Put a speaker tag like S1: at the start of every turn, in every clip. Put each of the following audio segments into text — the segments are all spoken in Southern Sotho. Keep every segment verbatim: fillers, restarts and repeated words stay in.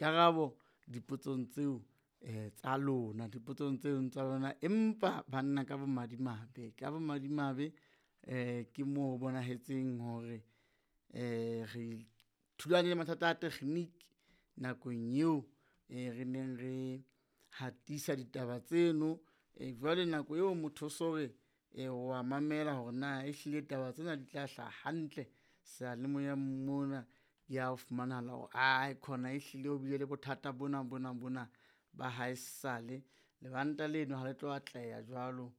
S1: Karabo dipotsong tseo eh tsa lona, dipotsong tseo tsa lona. Empa banna ka bomadimabe, ka bomadimabe eh ke moo ho bonahetseng hore eh re thulane le mathata a tekgniki nakong eo eh re neng re hatisa ditaba tseno. Eh jwale nako eo motho o so re wa mamela hore na ehlile taba tsena di tla hlaha hantle seyalemoyeng mona. Ke ha ho fumanahala hore aekhona ehlile ho bile le bothata bona bona bona ba haesale. Lebanta leno ha le tlo atleha jwalo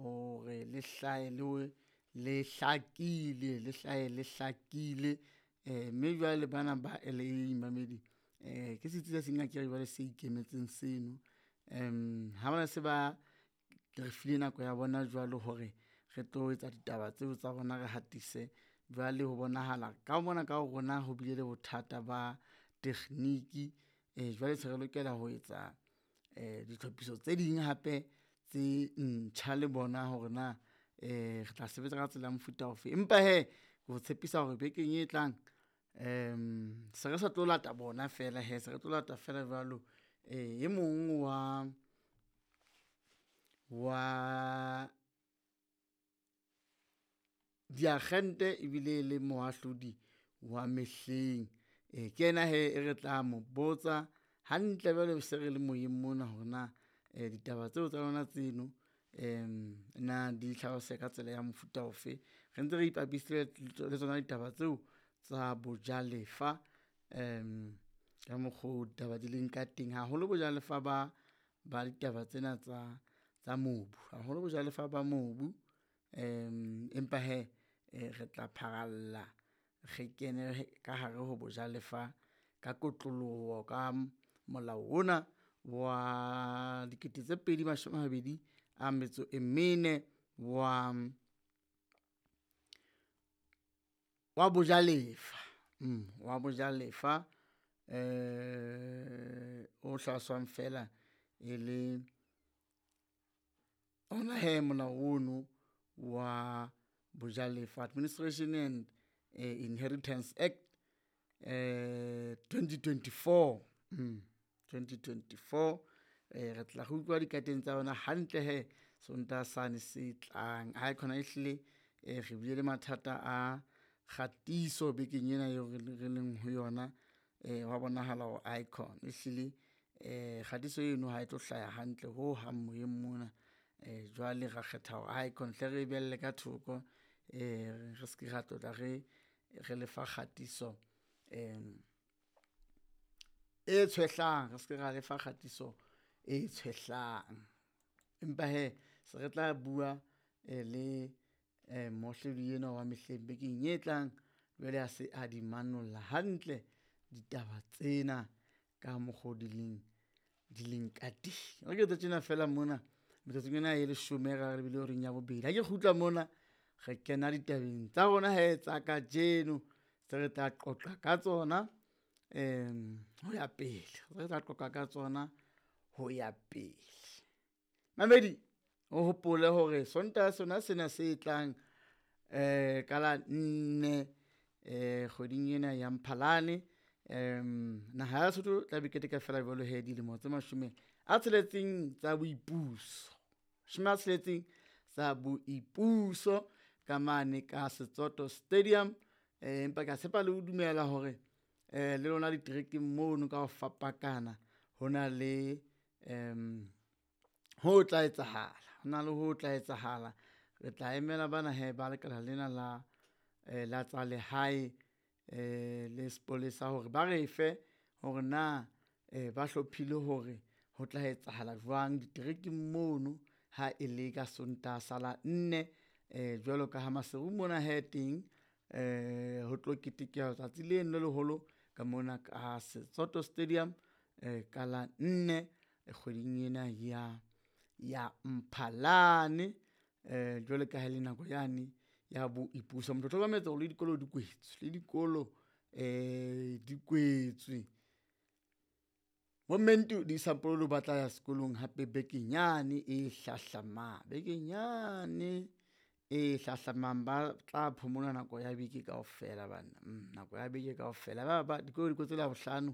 S1: hore le hlahe le, le hlakile, le hlahe le hlakile. Eh mme jwale bana ba L A mamedi eh ke setsi se seng akere jwale se ikemetseng seno. Ha bana se ba re file nako ya bona jwalo hore re tlo etsa ditaba tseo tsa rona, re hatise. Jwale ho bonahala ka mona ka ho rona ho bile le bothata ba tekgniki eh jwale se re lokela ho etsa eh ditlhophiso tse ding hape tse ntjha le bona hore na eh re tla sebetsa ka tsela ya mofuta ofe. Empa hee ke o tshepisa hore bekeng e tlang se re sa tlo lata bona fela hee, se re tlo lata fela jwalo e mong wa, wa diakgente ebile e le moahlodi wa mehleng. Ke yena hee e re tla mo botsa hantle jwale se re le moyeng mona hore na ditaba tseo tsa lona tseno na di hlaloseha ka tsela ya mofuta ofe. Re ntse re ipapisitse le tsona ditaba tseo tsa bojalefa ka mokgo ditaba di leng ka teng, haholo bojalefa ba ba ditaba tsena tsa tsa mobu, haholo bojalefa ba mobu. Empa hee re tla pharalla re kene ka hare ho bojalefa ka kotloloho ka molao ona wa dikete tse pedi mashome a mabedi a metso e mene wa, wa bojalefa wa bojalefa o hlaloswang fela e le ona hee molao ono wa bojalefa. Administration and Inheritance Act twenty twenty-four, twenty twenty-four. Re tla re utlwa dikateng tsa yona hantle hee Sontaha sane se tlang. Aekhona ehlile re bile le mathata a kgatiso bekeng ena eo re leng ho yona. Hwa bonahala hore aekhona ehlile kgatiso eno ha e tlo hlaha hantle hohang moyeng mona. Jwale ra kgetha hore aekhona hle re e behelle ka thoko re ske ra tlotla re, re lefa kgatiso e tshwehlang, re ske ra lefa kgatiso e tshwehlang. Empa hee se re tla bua le moahlodi enwa wa mehleng bekeng e tlang jwale a se a di manolla hantle ditaba tsena ka mokgo di leng, di leng ka teng. Re ke etse tjena fela mona metsotsong ena e leshome re lebile horeng ya bobedi. Ha ke kgutla mona re kena ditabeng tsa rona hee tsa kajeno tse re tla qoqa ka tsona ho ya pele, re tla qoqa ka tsona ho ya pele. Mamedi o hopole hore Sontaha sona sena se tlang ka la nne kgweding ena ya Mphalane naha ya Lesotho tla be keteka fela jwalo hee dilemo tse mashome a tsheletseng tsa boipuso. Mashome a tsheletseng tsa boipuso ka mane ka Setsoto Stadium. Empa ke a tshepa le ho dumela hore le lona diterekeng mono ka ho fapakana ho na le ho tla etsahala, ho na le ho tla etsahala. Re tla emela bana hee ba lekala lena la la tsa lehae le sepolesa hore ba re fe hore na ba hlophile hore ho tla etsahala jwang diterekeng mono ha e le ka Sontaha sa la nne. Jwalo ka ha Maseru mona hee teng ho tlo ketekwa letsatsi leno le leholo ka mona ka Setsoto Stadium ka la nne kgweding ena ya, ya Mphalane. Jwalo ka ha e le nako yane ya boipuso. Motho o hlokometse hore le dikolo di kwetswe, le dikolo di kwetswe. Bo Mentu di Sampololo ba tla ya sekolong hape bekeng yane e hlahlamang, bekeng yane e hlahlamang ba tla phomola nako ya beke kaofela banna, nako ya beke kaofela. Ba ba dikolo di kwetswe Labohlano.